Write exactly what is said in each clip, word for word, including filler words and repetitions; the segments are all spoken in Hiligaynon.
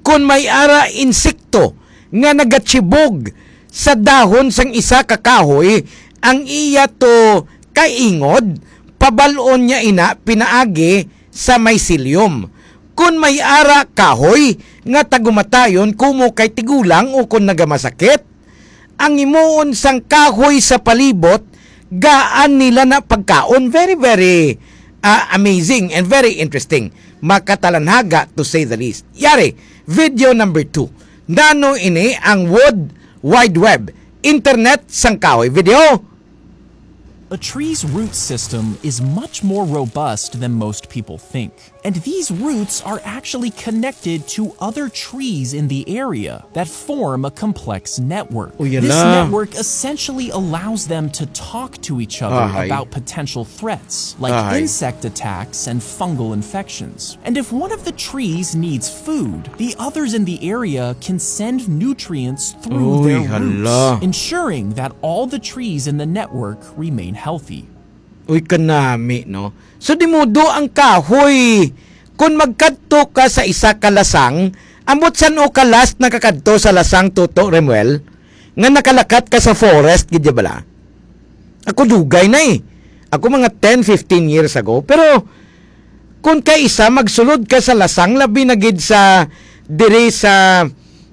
Kon may ara insekto nga nagatsibog sa dahon sang isa ka kahoy, ang iya to kaingod, pabal-on niya ina pinaagi sa mycelium. Kon may ara kahoy nga tagumatayon kumo kay tigulang o kon nagamasakit, ang himuon sang kahoy sa palibot, gaan nila na pagkaon. Very, very, ah, amazing and very interesting. Makatalanhaga, to say the least. Yari, video number two. Nano ini ang Wood Wide Web, internet sang kahoy. Video? A tree's root system is much more robust than most people think. And these roots are actually connected to other trees in the area that form a complex network. Uy, This hala. network essentially allows them to talk to each other Ahay. about potential threats, like Ahay. insect attacks and fungal infections. And if one of the trees needs food, the others in the area can send nutrients through Uy, their hala. roots, ensuring that all the trees in the network remain healthy. Uy, kanami, no? So, di mudo ang kahoy. Kung magkadto ka sa isa ka lasang, ambot san-o ka last nakakadto sa lasang, Toto Remuel, nga nakalakat ka sa forest, gid bala? Ako dugay na eh. Ako mga ten, fifteen years ago. Pero, kung kaisa, magsulod ka sa lasang, labi na gid sa, diri sa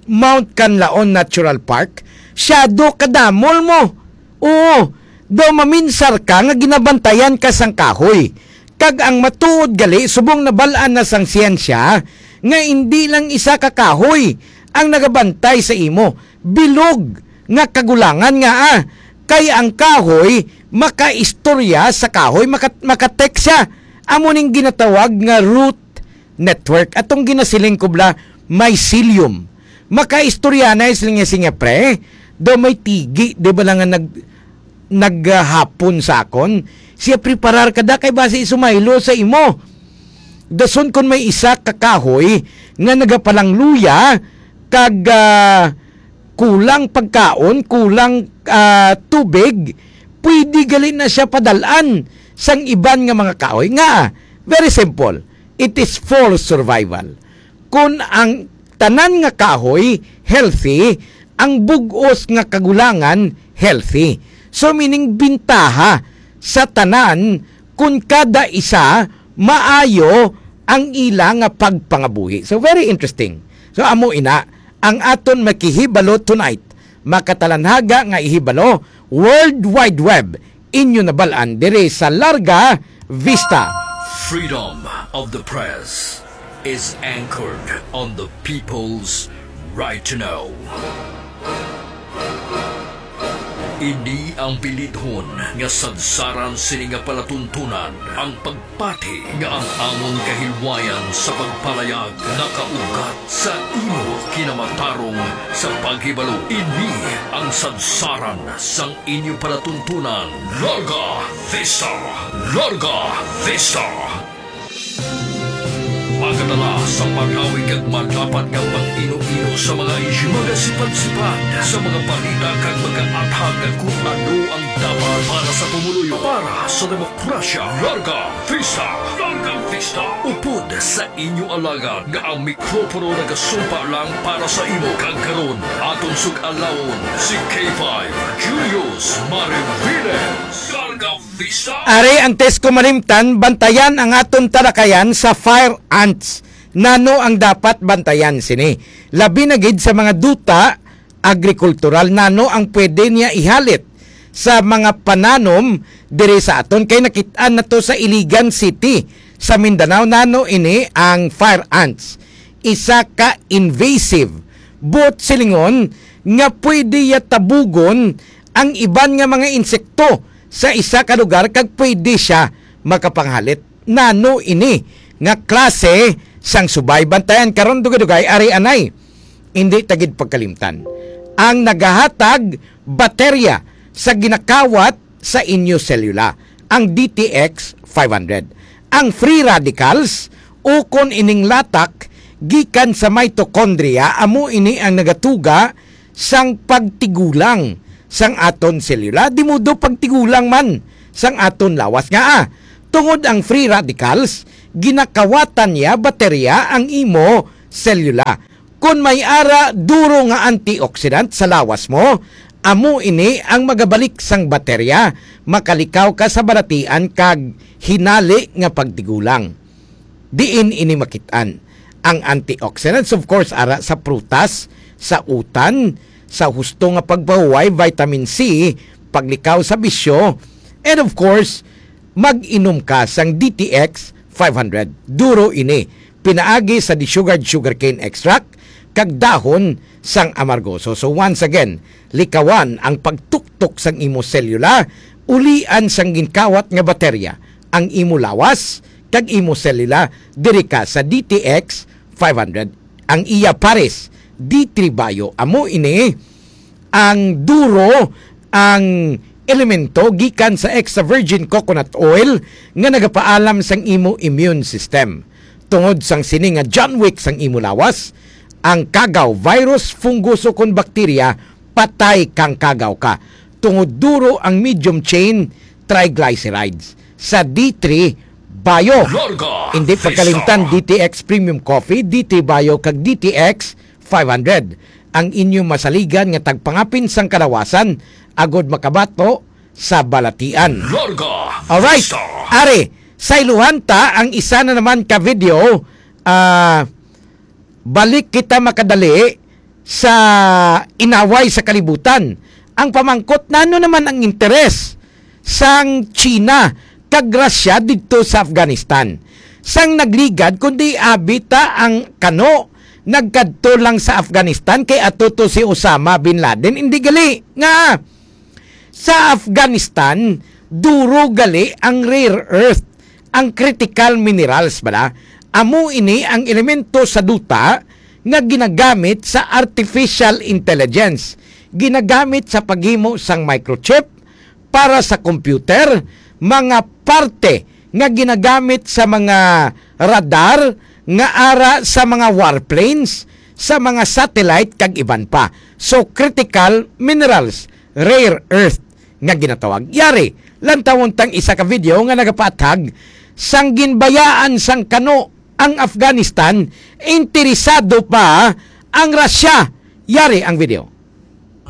Mount Kanlaon Natural Park, shadow kadamol mo. Oo, daw maminsar ka nga ginabantayan ka sang kahoy. Kag ang matuod gali, subong nabal-an na sang siyensya nga indi lang isa ka kahoy ang nagabantay sa imo. Bilog nga kagulangan nga, ah, kay ang kahoy makaistorya sa kahoy, maka-, makatext siya. Amo ning ginatawag nga root network. Atong ginasiling ko bala, mycelium. Makaistorya na sila nga, siya, pre. Daw may tigi, di ba lang nga nag-, naghapon sa akon? Siya, preparar ka da kay basi sumaylo sa imo. Dason kon may isa ka kahoy nga nagapalangluya kag, ah, kulang pagkaon, kulang, ah, tubig, pwede gali na siya padalan sang iban nga mga kahoy. Nga, very simple, it is for survival. Kon ang tanan nga kahoy healthy, ang bug-os nga kagulangan healthy. So, meaning, bintaha sa tanan kon kada isa maayo ang ila nga pagpangabuhi. So, very interesting. So, amo ina ang aton makahibalo tonight. Makatalanhaga nga ihibalo, World Wide Web, inyo nabal-an diri sa Larga Vista. Freedom of the press is anchored on the people's right to know. Ini ang bilidhon nga sadsaran sini nga palatuntunan, ang pagpati nga ang amon kahilwayan sa pagpalayag nakaugat sa imo kinamatarong sa paghibalo. Ini ang sadsaran sang inyo palatuntunan, Larga Vista! Larga Vista! Magadala sa pagawig kag madapat nga pag-ino-ino sa mga isyu, magasipat-sipat sa mga balita kag magaathag kung ano ang dapat para sa pumuluyo, para sa demokrasya. Larga Vista! Larga Vista! Upod sa inyo alagad nga ang mikropono nagasumpa lang para sa imo, kag karon aton sug-alawon si K five Julius Mariviles. Larga Vista! Ari, antes ko malimtan, bantayan ang aton talakayan sa fire ants. Nano ang dapat bantayan sini? Labi na gid sa mga duta agrikultural, nano ang pwede niya ihalit sa mga pananom diri sa aton? Kay nakit-an nato sa Iligan City sa Mindanao, nano ini ang fire ants. Isa ka invasive, buot silingon, nga pwede ya tabugon ang iban nga mga insekto sa isa ka lugar kag pwede siya makapanghalit. Nano ini nga klase sang subay? Bantayan karon, dugay-dugay, ari anay. Indi ta gid pagkalimtan ang nagahatag baterya sa ginakawat sa inyo selula, ang D T X five hundred. Ang free radicals, ukon ining latak gikan sa mitochondria, amo ini ang nagatuga sang pagtigulang sang aton selula, di mudo pagtigulang man sang aton lawas. Nga, ah, tungod ang free radicals, ginakawatan niya baterya ang imo selula. Kon may ara duro nga antioxidant sa lawas mo, amo ini ang magabalik sang baterya. Makalikaw ka sa balatian kag hinali nga pagtigulang. Diin ini makit-an? Ang antioxidants, of course, ara sa prutas, sa utan, sa husto nga pagpahuway, vitamin C, paglikaw sa bisyo, and of course, mag-inom ka sang D T X five hundred. Duro ini. Pinaagi sa desugared sugarcane extract kag dahon sang amargoso. So once again, likawan ang pagtuktok sang imo selula, ulian sang ginkawat nga baterya ang imo lawas kag imo selula diri ka sa D T X five hundred. Ang iya pares, D three Bio, amo ini ang duro, ang elemento gikan sa extra virgin coconut oil nga nagapaalam sang imo immune system. Tungod sang sini nga John Wick sang imo lawas, ang kagaw, virus, fungus, o kon bakterya, patay kang kagaw ka. Tungod duro ang medium chain triglycerides sa D three Bio. Larga Hindi Vista. Pagkalimtan, D T X Premium Coffee, D three Bio, kag D T X five hundred ang inyo masaligan nga tagpangapin sang kalawasan agud makabato sa balatian. Larga Alright, Vista. Ari, sayluhan ta ang isa na naman ka video. Ah, balik kita makadali sa inaway sa kalibutan. Ang pamangkot, nano naman ang interes sang China kag Russia didto sa Afghanistan? Sang nagligad, kundi abi ta ang kano nagkadto lang sa Afghanistan kay ato to si Osama bin Laden. Hindi gali nga sa Afghanistan, duro gali ang rare earth, ang critical minerals bala. Amo ini ang elemento sa duta nga ginagamit sa artificial intelligence, ginagamit sa paghimo sang microchip para sa computer, mga parte nga ginagamit sa mga radar nga ara sa mga warplanes, sa mga satellite kag iban pa. So, critical minerals, rare earth nga ginatawag. Yari, lantawon tang isa ka video nga nagapaathag sang ginbayaan sang kano ang Afghanistan, interesado pa ang Russia. Yari ang video.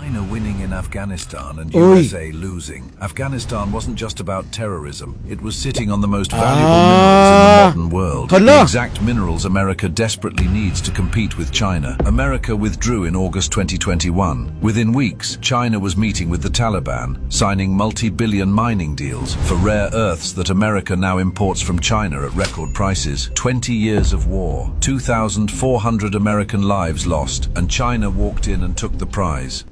China winning in Afghanistan and Uy. U S A losing. Afghanistan wasn't just about terrorism. It was sitting on the most valuable minerals in the Ah. modern world. Hala. The exact minerals America desperately needs to compete with China. America withdrew in August twenty twenty-one. Within weeks, China was meeting with the Taliban, signing multi-billion mining deals for rare earths that America now imports from China at record prices. Twenty years of war, two thousand four hundred American lives lost, and China walked in and took the prize.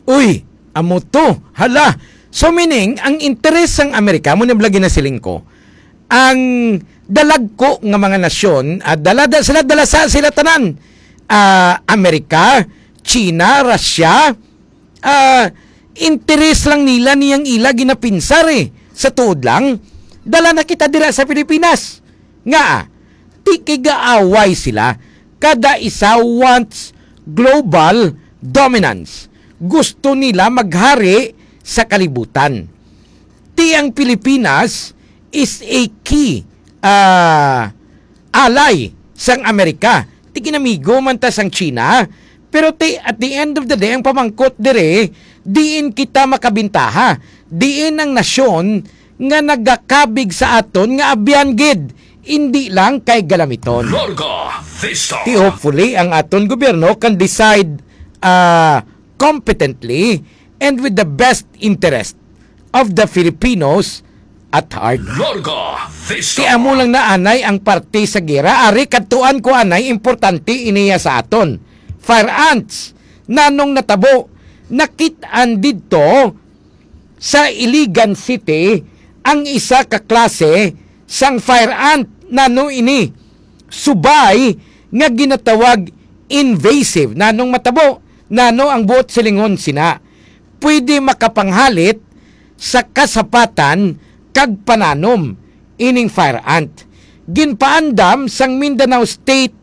Uy, amo to. Hala. So meaning, ang interes sang Amerika, mo na bala ginasiling ko, ang dalagko nga mga nasyon, ah, dala, da, sila, dalasa sila tanan. Ah, Amerika, China, Russia, ah, interes lang nila niyang ila ginapinsar eh. Sa tuod lang, dala na kita dira sa Pilipinas. Nga, ti kigaaway sila. Kada isa wants global dominance. Gusto nila maghari sa kalibutan. Ti ang Pilipinas is a key, ah, ally sang Amerika. Ti ginamigo man ta sang China, pero ti, at the end of the day, ang pamangkot diri, diin kita makabintaha, diin ang nasyon nga nagakabig sa aton nga abyan gid, indi lang kay galamiton. Larga Vista. Ti hopefully ang aton gobyerno can decide, ah, competently and with the best interest of the Filipinos at heart. Larga Vista. Ti amo lang na anay ang parte sa gera. Ari, kadtuan ko anay, importante iniya sa aton. Fire ants. Nanong natabo? Nakit-an didto sa Iligan City ang isa ka klase sang fire ant. Nano ini? Subay nga ginatawag invasive. Nanong matabo? Nano ang buot silingon sina? Pwede makapanghalit sa kasapatan kag pananom ining fire ant. Ginpaandam sang Mindanao State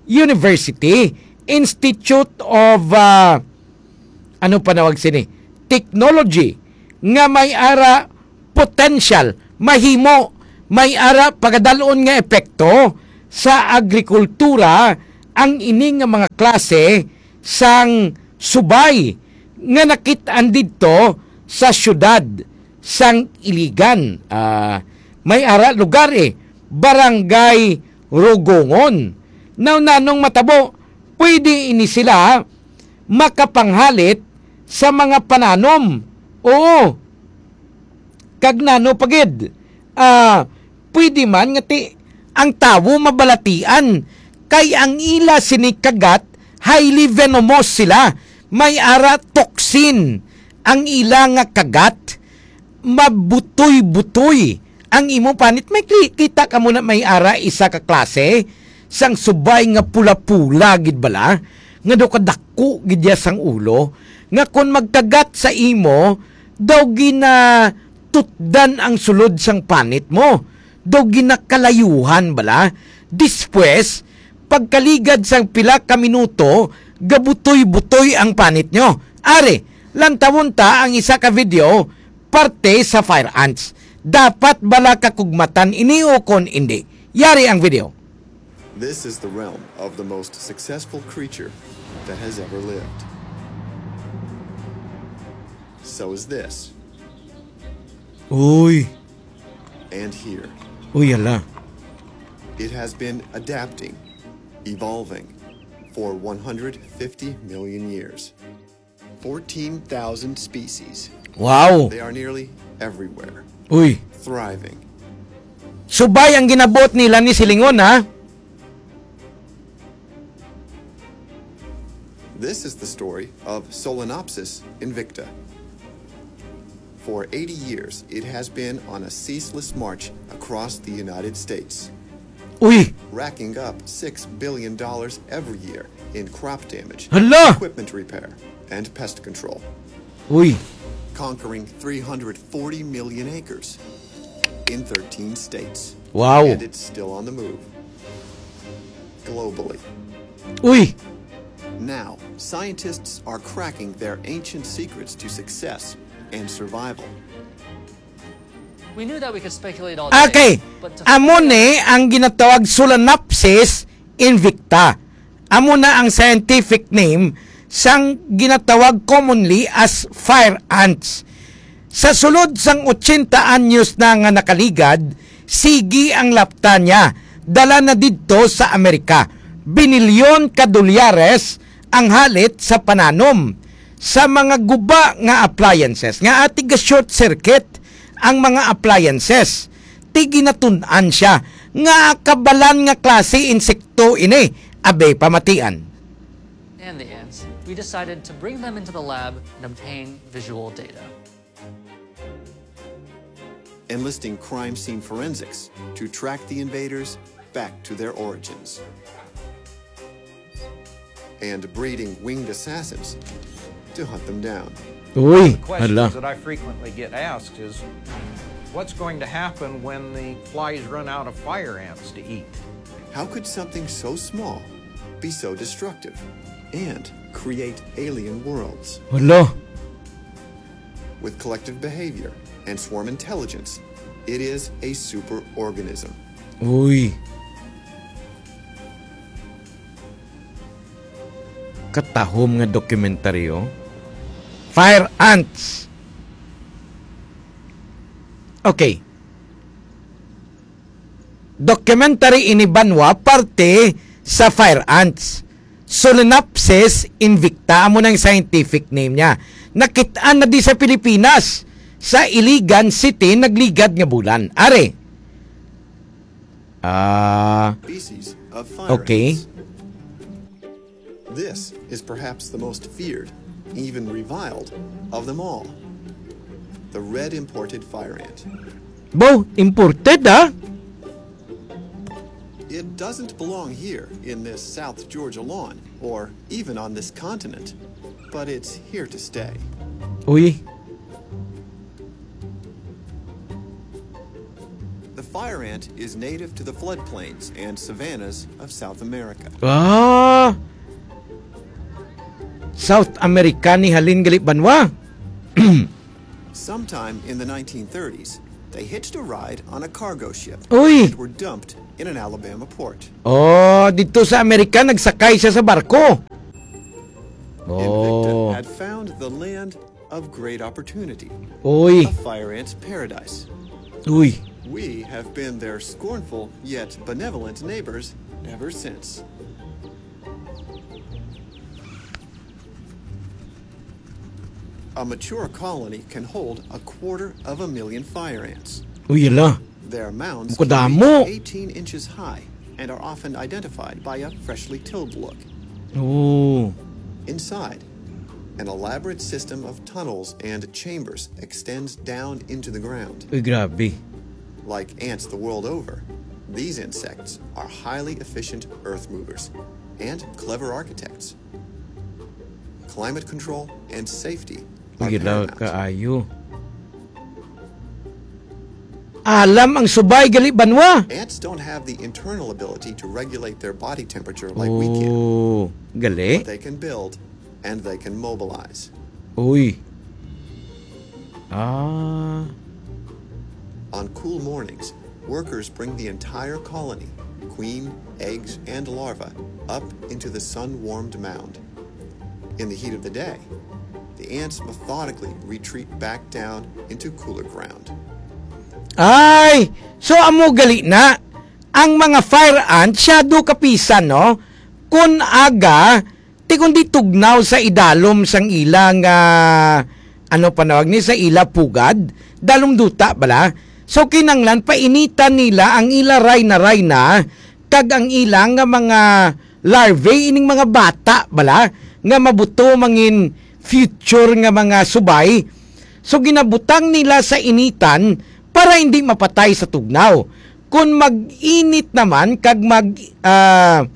University Institute of, ah, ano panawag sini? Technology nga may ara potential, mahimo, may ara pagadalon nga epekto sa agrikultura ang ini nga mga klase sang subay nga nakit-an didto sa siyudad sang Iligan. Ah, may ara lugar, eh, Barangay Rogongon. Now, nanong matabo, pwede ini sila makapanghalit sa mga pananom. Oo. Kag nano pa gid, ah, pwede man nga ti ang tawo mabalatian kay ang ila sini kagat, highly venomous sila. May ara toxin ang ila nga kagat. Mabutoy-butoy ang imo panit. May kli-, kita ka mo na may ara isa ka klase sang subay nga pula-pula gid bala, nga daw kadako gid ya sang ulo, nga kon magkagat sa imo, daw ginatutdan ang sulod sang panit mo, daw ginakalayuhan bala. Despues, pagkaligad sang pila ka minuto, gabutoy-butoy ang panit nyo. Ari, lantawon ta ang isa ka video parte sa fire ants. Dapat bala kakugmatan ini o kon indi? Yari ang video. This is the realm of the most successful creature that has ever lived. So is this. Uy. And here. Uy, ala. It has been adapting, evolving for one hundred fifty million years. Fourteen thousand species. Wow. They are nearly everywhere. Uy. Thriving. Subay ang ginabot nila ni silingon, ha? This is the story of Solenopsis invicta. For eighty years, it has been on a ceaseless march across the United States, Uy. Racking up six billion dollars every year in crop damage, Hala! Equipment repair, and pest control. Uy. Conquering three hundred forty million acres in thirteen states. Wow. And it's still on the move. Globally. Uy. Now, scientists are cracking their ancient secrets to success and survival. We knew that we could speculate all day, Okay. But to Amo ni ang ginatawag Solenopsis invicta. Amo na ang scientific name sang ginatawag commonly as fire ants. Sa sulod sang ochenta anyos na nga nakaligad, sige ang lapta niya. Dala na didto sa Amerika. Binilyon ka dolyares ang halit sa pananom. Sa mga guba nga appliances, nga ati ga short circuit ang mga appliances, ti ginatun-an siya nga kabalan nga klase insekto ini. Abe, pamatian. And the ants, we decided to bring them into the lab and obtain visual data. Enlisting crime scene forensics to track the invaders back to their origins. And breeding winged assassins to hunt them down. Uy, The questions hala. That I frequently get asked is, what's going to happen when the flies run out of fire ants to eat? How could something so small be so destructive and create alien worlds? Hala. With collective behavior and swarm intelligence, it is a superorganism. Uy. Katahom nga dokumentaryo. Fire Ants. Okay. Documentary ini banwa parte sa Fire Ants. Solenopsis invicta amo nang scientific name niya. Nakit-an na di sa Pilipinas, sa Iligan City, nagligad nga bulan. Are. Ah, Species of fire okay. Ants. This is perhaps the most feared, even reviled, of them all. The red imported fire ant. Bo, imported, ah? It doesn't belong here in this South Georgia lawn, or even on this continent, but it's here to stay. Uy. The fire ant is native to the floodplains and savannas of South America. Ah! South America ni halin gali banwa. Sometime in the nineteen thirties, They hitched a ride on a cargo ship Uy! and were dumped in an Alabama port. Oh, dito sa Amerika, nagsakay siya sa barko. Invicta Oh. had found the land of great opportunity, Uy. a fire ant's paradise. Uy. We have been their scornful yet benevolent neighbors ever since. A mature colony can hold a quarter of a million fire ants. Uy, yala. Their mounds Kadamo. can reach eighteen inches high and are often identified by a freshly tilled look. Oh. Inside, an elaborate system of tunnels and chambers extends down into the ground. Uy, grabe. Like ants the world over, these insects are highly efficient earth movers and clever architects. Climate control and safety are Uy, yala paramount. kaayo. Alam ang subay gali banwa. Ants don't have the internal ability to regulate their body temperature like we can. Oh, gali. But they can build and they can mobilize. Uy. Ah. On cool mornings, workers bring the entire colony, queen, eggs, and larva, up into the sun-warmed mound. In the heat of the day, the ants methodically retreat back down into cooler ground. Ay, so amo gali na ang mga fire ants, shadow kapisan, no? Kun aga, ti kundi tugnaw sa idalom sang ila nga, ano panawag ni, sa ila pugad, dalom duta bala. So kinanglan painitan nila ang ila rayna-rayna kag ang ila nga mga larvae, ining mga bata bala nga mabuto mangin future nga mga subay. So ginabutang nila sa initan para hindi mapatay sa tugnaw. Kon mag-init naman kag mag, ah,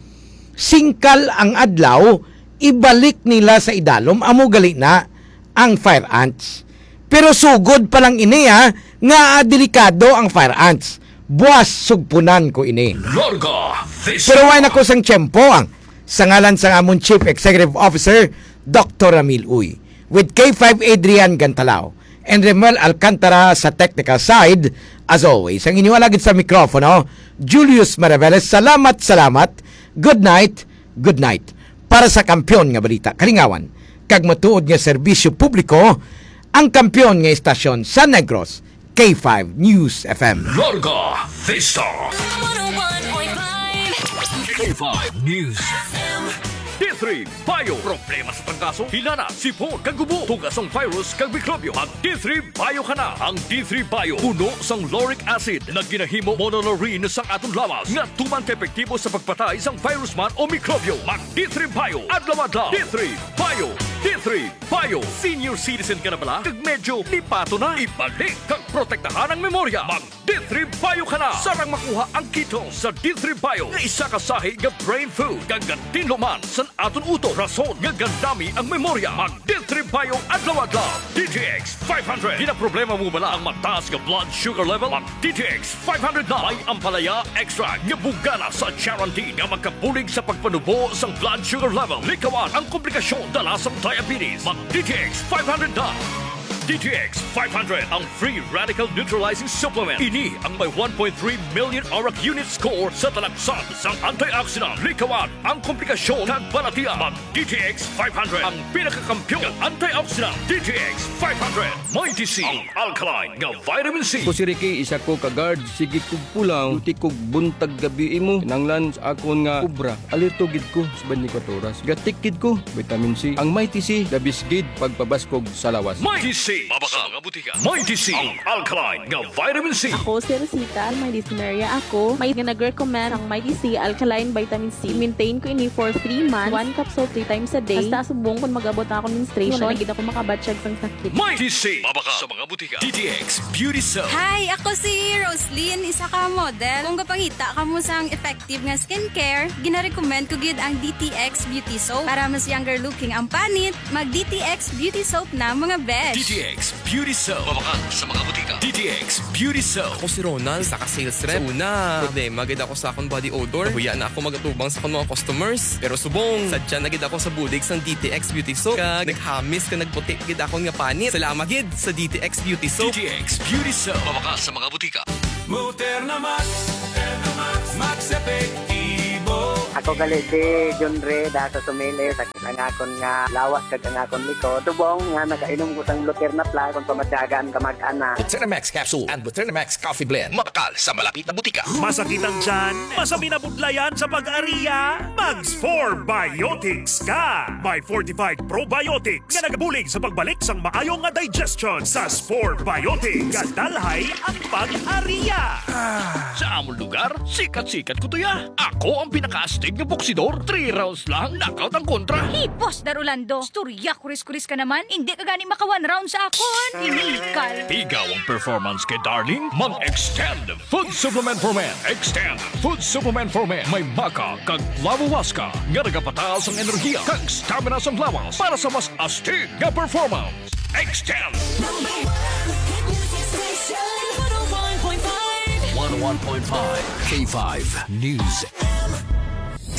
singkal ang adlaw, ibalik nila sa idalom. Amo gali na ang fire ants. Pero sugod pa lang ini, ha, nga delikado ang fire ants. Buas sugpunan ko ini. Larga Vista. Pero way na ko sang tiyempo ang sa ngalan sang amon Chief Executive Officer, Doctor Ramil Uy, with K five Adrian Gantalao and Remuel Alcantara sa technical side, as always, ang inyo alagid sa mikropono, Julius Maraveles. Salamat, salamat. Good night, good night. Para sa kampiyon nga balita, kalingawan, kag matuod nga serbisyo publiko, ang kampiyon nga istasyon sa Negros, K five News F M. Larga Vista. One oh one point five. K five News F M. D three Bio. Problema sa tangkaso, hilana, sipon, kag gubo, tuga sang virus, kag mikrobyo. Mag D three Bio ka na. Ang D three Bio puno sang lauric acid na ginahimo monolaurin sang aton lawas nga tuman ka epektibo sa pagpatay sang virus man o mikrobyo. Mag D three Bio adlaw-adlaw. D three Bio. D three Bio. Senior citizen ka na bala? Kag medyo lipato na? Ibalik kag protektahan ang memorya. Mag D three Bio ka na. Sarang makuha ang kito sa D three Bio nga isa ka sahi nga brain food kag gatinlo man sa aton utok, rason nga gandami ang memorya. Mag D three Bio adlaw-adlaw. D T X five hundred. Ginaproblema mo bala ang mataas nga blood sugar level? Mag D T X five hundred na. May ampalaya extract nga bugana sa charantin nga makabulig sa pagpanubo sang blood sugar level. Likawan ang komplikasyon dala sang diabetes. Mag D T X five hundred na. D T X five hundred, ang free radical neutralizing supplement. Ini ang may one point three million arak unit score sa talaksan sang antioxidant. Likawan ang komplikasyon kag balatian. Mag D T X five hundred, ang pinakakampiyon nga antioxidant. D T X five hundred. Mighty C, ang alkaline nga vitamin C. Ako si Ricky, isa ko ka guard. Sige kog pulaw, duty kog buntag gabi imo. Kinanglan sa akon nga obra. Alerto gid ko sa twenty-four oras. Gatik gid ko, vitamin C. Ang Mighty C, the best gid pagpabaskog sa lawas. Mighty C, mabaka sa mga butika. Mighty C, ang alkaline nga vitamin C. Ako si Rosita, may dysmenorrhea ako. May nga nag-recommend ang Mighty C alkaline vitamin C. Maintain ko ini for three months. One capsule three times a day. Hasta subong kung mag-abot na akong menstruation, wala na gid ako makabatyag sang sakit. Mighty C, mabaka sa mga butika. D T X Beauty Soap. Hi, ako si Roslyn, isa ka model. Kung gapangita kamo sang effective nga skincare, ginarecommend ko gid ang D T X Beauty Soap. Para mas younger looking ang panit, mag D T X Beauty Soap na, mga besh. D T X Beauty Soap. Mabakal sa mga butika. D T X Beauty Soap. Ako si Ronald, isa ka sales rep. Sa una, problema gid ako sa akong body odor. Nahuya na ako mag-atubang sa akong mga customers. Pero subong, sadya na gid ako sa bulig sang D T X Beauty Soap. Kag naghamis ka nagputi gid akon nga panit. Salamat gid sa D T X Beauty Soap. D T X Beauty Soap. Mabakal sa mga butika. Muterna Max, Muterna Max, Max Epektibo. Ako gali si John Ray, da sa Sumilis. Ang akon nga lawas kag ang akon likod. Subong nga nakainom ko sang Luterna Plus, kung pamatyagan ka mag-ana. Buterna Max Capsule and Buterna Max Coffee Blend. Mabakal sa malapit na butika. Masakit ang tiyan? Masamin na budlayan sa pag-ariya? Mag Spore Biotics ka! May fortified probiotics nga nagabulig sa pagbalik sang maayo nga digestion. Sa Spore Biotics, kadalhay ang pag-ariya. Sa amon lugar, sikat-sikat ko to ya. Ako ang pinakaastig nga boksidor. Three rounds lang, knockout ang kontra. Hipos, Dar Orlando. Istorya, kuris-kuris ka naman. Hindi ka gani maka one round sa akon. Inikal. Igaw ang performance kay Darling. Mag-Extend Food Supplement for Men. Extend Food Supplement for Men. May maca kag flavowaska nga nagapataas ang enerhiya kag stamina sang lawas para sa mas astig nga performance. Extend! Number one hit music station, one oh one point five. One oh one point five K five News.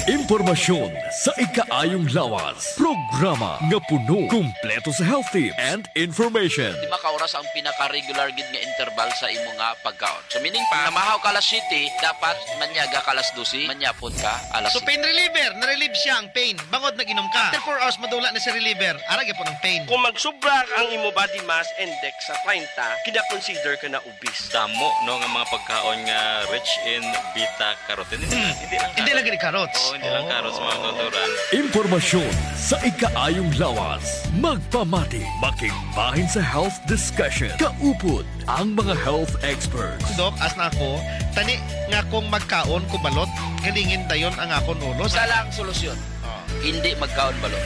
Impormasyon sa ikaayong lawas. Programa nga puno, kumpleto sa health tips and information. Lima ka oras ang pinaka-regular gid nga interval sa imo nga pagkaon. So, meaning pa, namahaw ka alas siyete, dapat manyaga ka alas dose, manyapon ka alas So, pain reliever, na-relieve siya ang pain. Bangod nag-inom ka. After four hours, madula na si reliever. Ara gyapon ang pain. Kung magsubra ang imo body mass index sa treinta, kina-consider ka na obese. Damo, no, nga mga pagkaon nga rich in beta carotene. Hindi lang, hindi lang carrots. Hindi lang carrots. Oo, hindi lang carrots, mga kautoran. Impormasyon sa ikaayong lawas. Magpamati, makigbahin sa health discussion. Kaupod ang mga health experts. Doc, as na ako, tani nga kung magkaon ko balot, galingin dayon ang akon ulo. Isa lang solusyon. Oh. Hindi magkaon balot.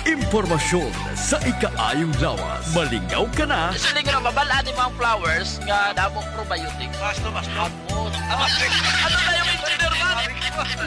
Impormasyon sa ikaayong lawas. Malingaw ka na. Siling ra, mabal-an ni mga flowers nga damong probiotics. Basta, basta. Ano na yung engineer man?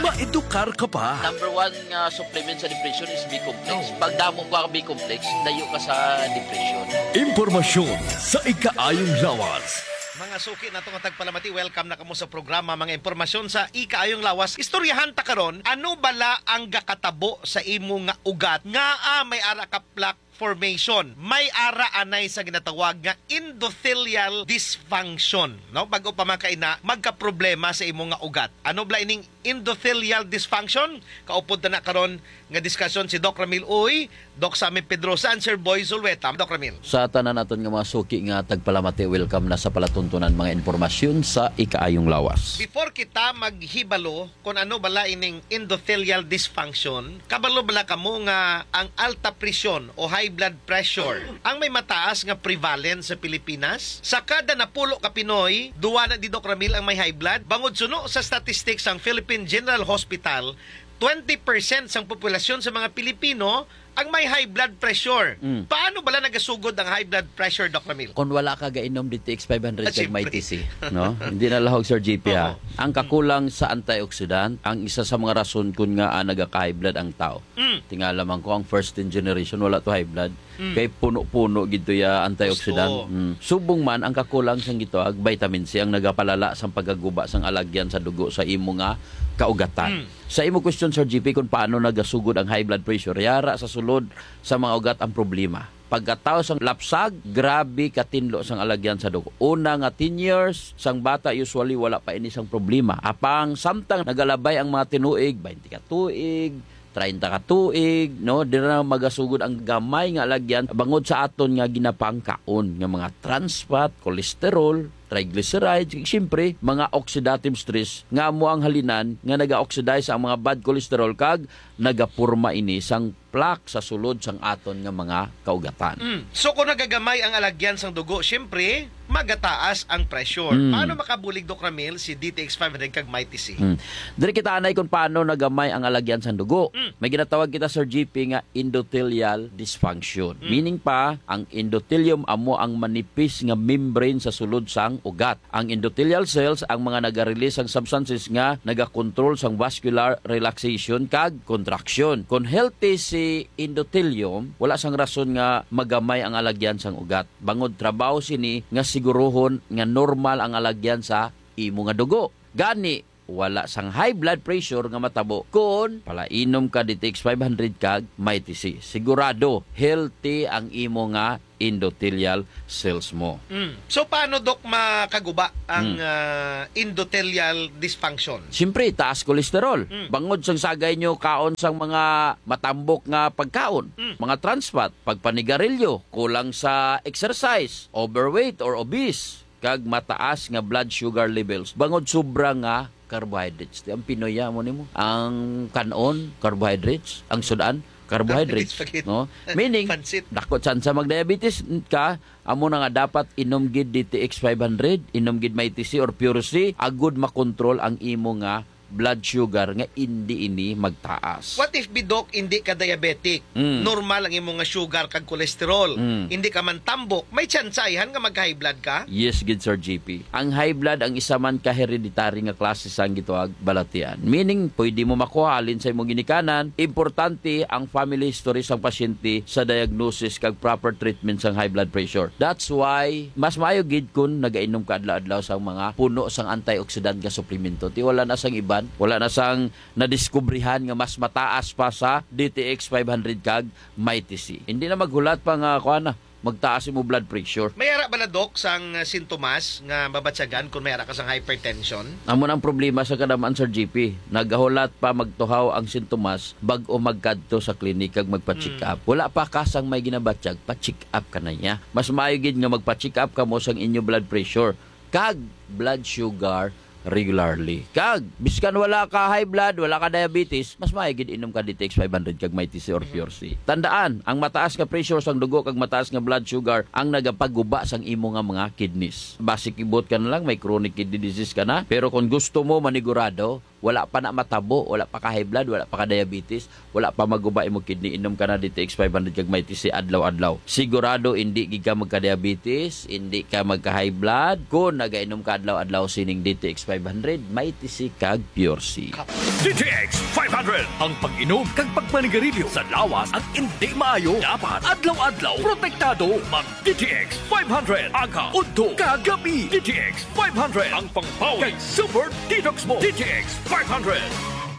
Maedukar ka pa. Number one nga supplement sa depression is B-complex. Oh. Pag damo ka B-complex, dayo ka sa depression. Impormasyon sa ikaayong lawas. Mga suki nato nga tagpalamati, welcome na kamo sa programa, mga impormasyon sa ikaayong lawas. Istoryahan ta karon, ano bala ang gakatabo sa imo nga ugat nga, ah, may ara ka plaque formation? May ara anay sa ginatawag nga endothelial dysfunction, no? Bag-o pa man kaina, magkaproblema sa imo nga ugat. Ano bala ining endothelial dysfunction? Kaupod ta na karon nga diskusyon si Doc Ramil Uy, Doc Sammy Pedrosa, and Sir Boy Zulueta. Doc Ramil. Sa tanan naton nga mga suki nga tagpalamati, welcome na sa palatuntunan mga impormasyon sa ikaayong lawas. Before kita maghibalo kung ano bala ining endothelial dysfunction, kabalo bala kamo nga ang alta presyon o high blood pressure ang may mataas nga prevalence sa Pilipinas? Sa kada napulo ka Pinoy, duwa na di, Doc Ramil, ang may high blood. Bangod suno sa statistics sang Philippine General Hospital, twenty percent sang populasyon sa mga Pilipino ang may high blood pressure. Mm. Paano bala nagasugod ang high blood pressure, Doc Ramil? Kung wala ka gainom D T X five hundred Ah, kag may siyempre. T C, no? Hindi na lahog, Sir G P, ha? Oo. Ang kakulang sa antioxidant, ang isa sa mga rason kun nga, ah, nagaka-high blood ang tao. Mm. Tingala man ko, ang first ten generation, wala to high blood. Mm. Kay puno-puno gid to ya antioxidant. Gusto. Mm. Subong man, ang kakulang sang gitawag vitamin C ang nagapalala sang pagkaguba sang alagyan sa dugo sa imo nga kaugatan. Mm. Sa imo question, Sir G P, kung paano nagasugod ang high blood pressure, yara sa sulod sa mga ugat ang problema. Pagkatawo sang lapsag, grabe katinlo sang alagyan sa dugo. Una nga ten years, sang bata usually wala pa ini sang problema. Apang samtang nagalabay ang mga tinuig, twenty ka tuig, treinta ka tuig, no, dira na magasugod ang gamay nga alagyan bangod sa aton nga ginapangkaon nga mga trans fat, cholesterol, triglycerides, ug siyempre, mga oxidative stress nga amo ang halinan nga naga-oxidize ang mga bad cholesterol kag nagaporma ini sang plaque sa sulod sang aton nga mga kaugatan. Mm. So, kung nagagamay ang alagyan sang dugo, siyempre, magataas ang pressure. Mm. Paano makabulig, Doc Ramil, si D T X five hundred kag Mighty C? Mm. Diri kita anay kung paano nagamay ang alagyan sang dugo. Mm. May ginatawag kita, Sir G P, nga endothelial dysfunction. Mm. Meaning pa, ang endothelium amo ang manipis nga membrane sa sulod sang ugat. Ang endothelial cells ang mga naga-release sang substances nga nagakontrol sang vascular relaxation kag contraction. Kon healthy si endothelium, wala sang rason nga magamay ang alagyan sang ugat. Bangod trabaho sini nga siguruhon nga normal ang alagyan sa imo nga dugo. Gani, wala sang high blood pressure nga matabo kon palainom ka D T X five hundred kag Mighty C. Sigurado, healthy ang imo nga endothelial cells mo. Mm. So, paano, Doc, makaguba ang, Mm. ah, endothelial dysfunction? Siyempre, taas cholesterol. Mm. Bangod sang sagay nyo kaon sang mga matambok nga pagkaon, Mm. mga trans fat, pagpanigarilyo, kulang sa exercise, overweight or obese, kag mataas nga blood sugar levels bangod sobra nga carbohydrates. Di ang Pinoy, amo nimo. Ang kanon, carbohydrates. Ang sudan, carbohydrates. Carbohydrates, spaghetti. No? Meaning, Pansit. dako tsansa mag-diabetes ka, amo na nga dapat inom gid D T X five hundred, inom gid Mighty C or Pure C, agud makontrol ang imo nga blood sugar nga indi ini magtaas. What if, Bidok, hindi ka diabetic? Mm. Normal ang imo nga sugar kag cholesterol. Mm. Hindi ka man tambok, may tsansa ayhan nga mag-high blood ka? Yes gid, Sir G P. Ang high blood ang isa man ka hereditary nga klase sang gitawag balatian. Meaning, pwede mo makuha halin sa imong ginikanan. Importante ang family history sang pasyente sa diagnosis kag proper treatment sang high blood pressure. That's why mas maayo gid kun nagainom ka adlaw-adlaw sang mga puno sang antioxidant nga suplemento. Ti wala na sang iban, wala na sang nadiskubrihan nga mas mataas pa sa D T X five hundred kag Mighty C. Hindi na maghulat pa nga, kuan na, magtaas imo blood pressure. May ara bala, Doc, sang, uh, sintomas nga mabatyagan kung may ara ka sang hypertension? Amo na ang problema sa kadaman, Sir G P. Nagahulat pa magtuhaw ang sintomas bag-o magkadto sa klinik kag magpa-check Hmm. up. Wala pa ka sang may ginabatyag, pa-check up ka na niya. Mas maayo gid nga magpa-check up kamo sang inyo blood pressure kag blood sugar regularly. Kag biskan wala ka high blood, wala ka diabetes, mas maayo gid inom ka D T X five hundred kag Mighty C or Mhm. Pure C. Tandaan, ang mataas nga pressure sang dugo kag mataas nga blood sugar ang nagapaguba sang imo nga mga kidneys. Basi kibot ka na lang, may chronic kidney disease ka na. Pero kung gusto mo manigurado, wala pa na matabo, wala pa ka high blood, wala pa ka diabetes, wala pa maguba imo kidney, inom ka na D T X five hundred kag Mighty C adlaw-adlaw. Sigurado hindi gid ka magka-diabetes, hindi ka magka-high blood kung nagainom ka adlaw-adlaw sining D T X five hundred, Mighty C kag Pure C. D T X five hundred, ang pag-inom kag pagpanigarilyo sa lawas ang hindi maayo. Dapat adlaw-adlaw protektado. Mag D T X five hundred, aga, udto, kag gabi. D T X five hundred, ang pangbawi kag super detox mo. D T X five hundred.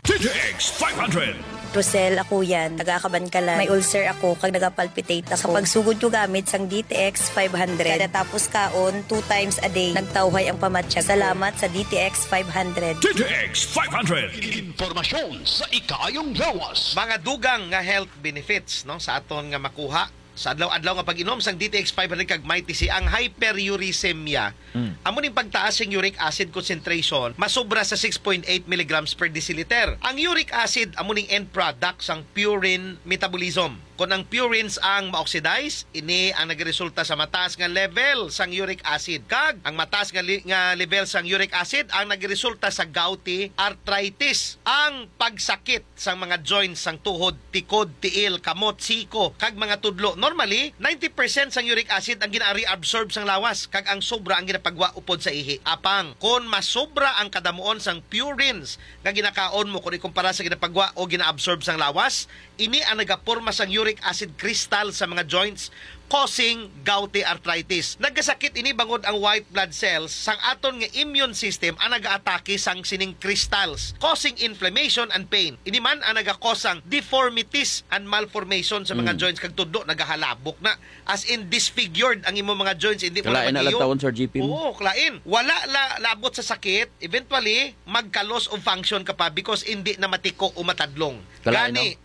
D T X five hundred. Rosel, ako yan. Taga Kabankalan. May ulcer ako, kag nagapalpitate ako. Sa pagsugod ko gamit sang D T X five hundred, kada tapos kaon, two times a day, nagtawhay ang pamatyag ko. Salamat sa D T X five hundred. D T X five hundred. Informasyon sa ikaayong lawas. Mga dugang nga health benefits, no, sa aton nga makuha sa adlaw-adlaw nga pag-inom sang D T X five hundred kag Mighty C, ang hyperuricemia. Mm. Amo ning pagtaas sing uric acid concentration, masobra sa six point eight milligrams per deciliter. Ang uric acid amo ning end product sang purine metabolism. Kon ang purines ang ma-oxidize, ini ang nagresulta sa mataas nga level sang uric acid. Kag ang mataas nga li-, nga level sang uric acid ang nagresulta sa gouty arthritis, ang pagsakit sang mga joints sang tuhod, tikod, tiil, kamot, siko, kag mga tudlo. Normally, ninety percent sang uric acid ang gina-reabsorb sang lawas, kag ang sobra ang ginapagwa upod sa ihi. Apang, kon masobra ang kadamuon sang purines nga ginakaon mo kon ikumpara sa ginapagwa o gina-absorb sang lawas, ini ang nagaporma sang uric acid crystal sa mga joints, causing gouty arthritis. Nagkasakit ini bangod ang white blood cells sang aton nga immune system ang nagaatake sang sining crystals, causing inflammation and pain. Ini man ang nagakos sang deformities and malformation sa mga Mm. joints, kag tudlo nagahalabok na. As in, disfigured ang imo mga joints, hindi mo na Kalain na lang magiyo. Taon, Sir G P, mo. Oo, kalain. Wala la, labot sa sakit, eventually, magka-loss of function ka pa because hindi na matiko o matadlong. Kalain, Gani, no?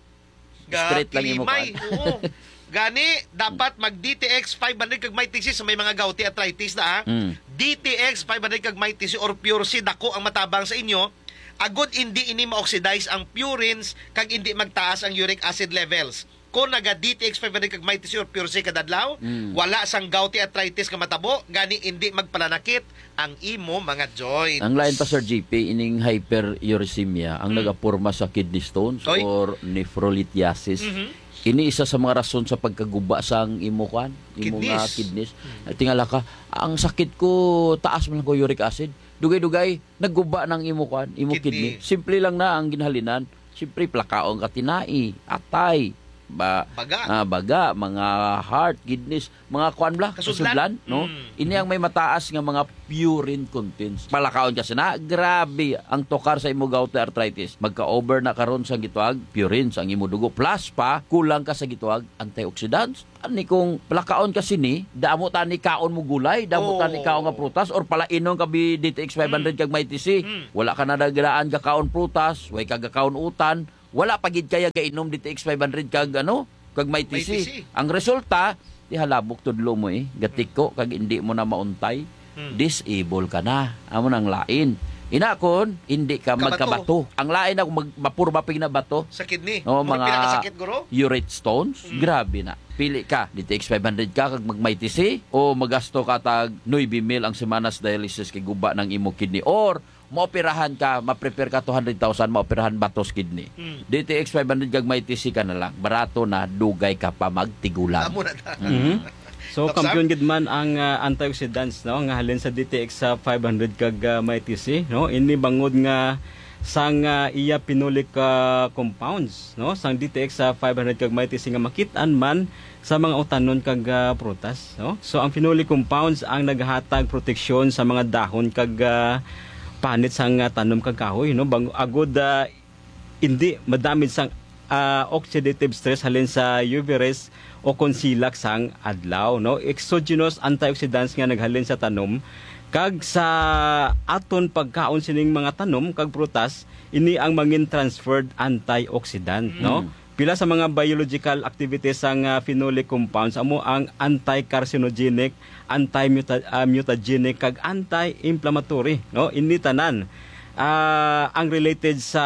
Straight lang imo Kalimay, kuan. Oo. Gani, dapat mag D T X five hundred kag Mighty C sa may mga gouty arthritis na, ha? Mm. D T X five hundred kag Mighty C or Pure C, dako ang matabang sa inyo. agod hindi ini ma-oxidize ang purines kag hindi magtaas ang uric acid levels. Kung naga D T X five hundred kag Mighty C or Pure C kada adlaw, Mm. wala sang gouty arthritis nga matabo, gani hindi magpalanakit ang imo mga joints. Ang lain pa, Sir G P, ining hyperuricemia ang Mm. nagaporma sa kidney stones Oy. or nephrolithiasis. Mhm. Ini isa sa mga rason sa pagkaguba sang imo, kuan, imo nga Kidneys. kidneys. Mm. Tingala ka, "Ang sakit ko, taas man ko uric acid." Dugay-dugay, nagguba ng imo, kuan, imo Kidney. kidney. Simple lang na ang ginhalinan. Siyempre, plakaon ka tinai, atay, ba, Baga. ah, baga, mga heart, kidneys, mga kuan bla, Kasudlan. kasudlan, no? Mm. Ini ang may mataas nga mga purine contents. Palakaon ka sina, grabe ang tukar sa imo gout arthritis. Magka-over na karon sang gitawag purine sa imo dugo. Plus pa, kulang ka sa gitawag antioxidants. Ani kung palakaon ka sini, damo tani kaon mo gulay, damo Oo. tani kaon nga prutas, or palainon ka bi D T X five hundred Mm. kag Mighty C. Mm. Wala ka na nagdaan ka kaon prutas, way ka gakaon utan, wala pa gid kaya gainom D T X five hundred kag ano, kag Mighty C. Mighty C. Ang resulta, di halabok tudlo mo eh, gatiko kag hindi mo na mauntay. Hmm. Disable ka na. Amo nang lain. Ina kon hindi ka Kabato. magkabato. Ang lain ako mag mapurma pig na bato. Sa kidney. No, Mura mga pinakasakit, guro? urate stones. Hmm. Grabe na. Pili ka, D T X five hundred ka kag mag Mighty C o magasto ka tag nuebe mil ang semana sa dialysis kay guba ng imo kidney or maoperahan ka, ma-prepare ka two hundred thousand, maoperahan batos kidney. Hmm. D T X five hundred kag Mighty C ka na lang. Barato na, dugay ka pa magtigulang. Amo na ta. Mhm. So, Doc Sam? kampiyon gid man ang, ah, antioxidants, no, nga halin sa D T X sa five hundred kag, ah, Mighty C, no? Ini bangod nga sang, ah, iya phenolic, ah, compounds, no, sang D T X sa five hundred kag Mighty C nga makit-an man sa mga utanon kag, ah, prutas, no? So, ang phenolic compounds ang naghatag proteksyon sa mga dahon kag, ah, panit sang, ah, tanom kag kahoy, no? Bang-, agud, ah, hindi madamage sang, ah, oxidative stress halin sa U V rays o kon silak sang adlaw, no? Exogenous antioxidants nga naghalin sa tanom kag sa aton pagkaon sining mga tanom kag prutas, ini ang mangin transferred antioxidant, no? Mm. Pila sa mga biological activities sang, ah, phenolic compounds amo ang anti-carcinogenic, anti-muta-, ah, mutagenic, kag anti-inflammatory, no? Ini tanan, ah, ang related sa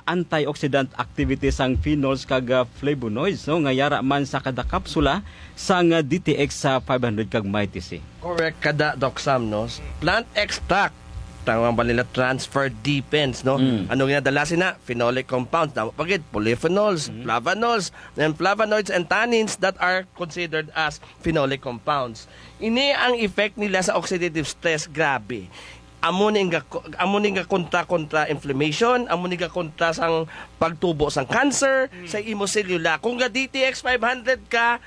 antioxidant activity sang phenols kag, ah, flavonoids, no? Nga yara man sa kada kapsula sang, ah, D T X sa five hundred kag Mighty C. Correct ka da, Doc Sam, no? Plant extract, tawag ba nila transfer depends, no? Mm. Ano nga dala sina? Phenolic compounds, tama pa gid, polyphenols, Mm. flavonols, and flavonoids and tannins that are considered as phenolic compounds. Ini ang effect nila sa oxidative stress, grabe. Amo ni nga, amo ni nga kontra, kontra inflammation, amo ni nga kontra sang pagtubo sang cancer, Mm. sa imo selula. Kung ga D T X five hundred ka,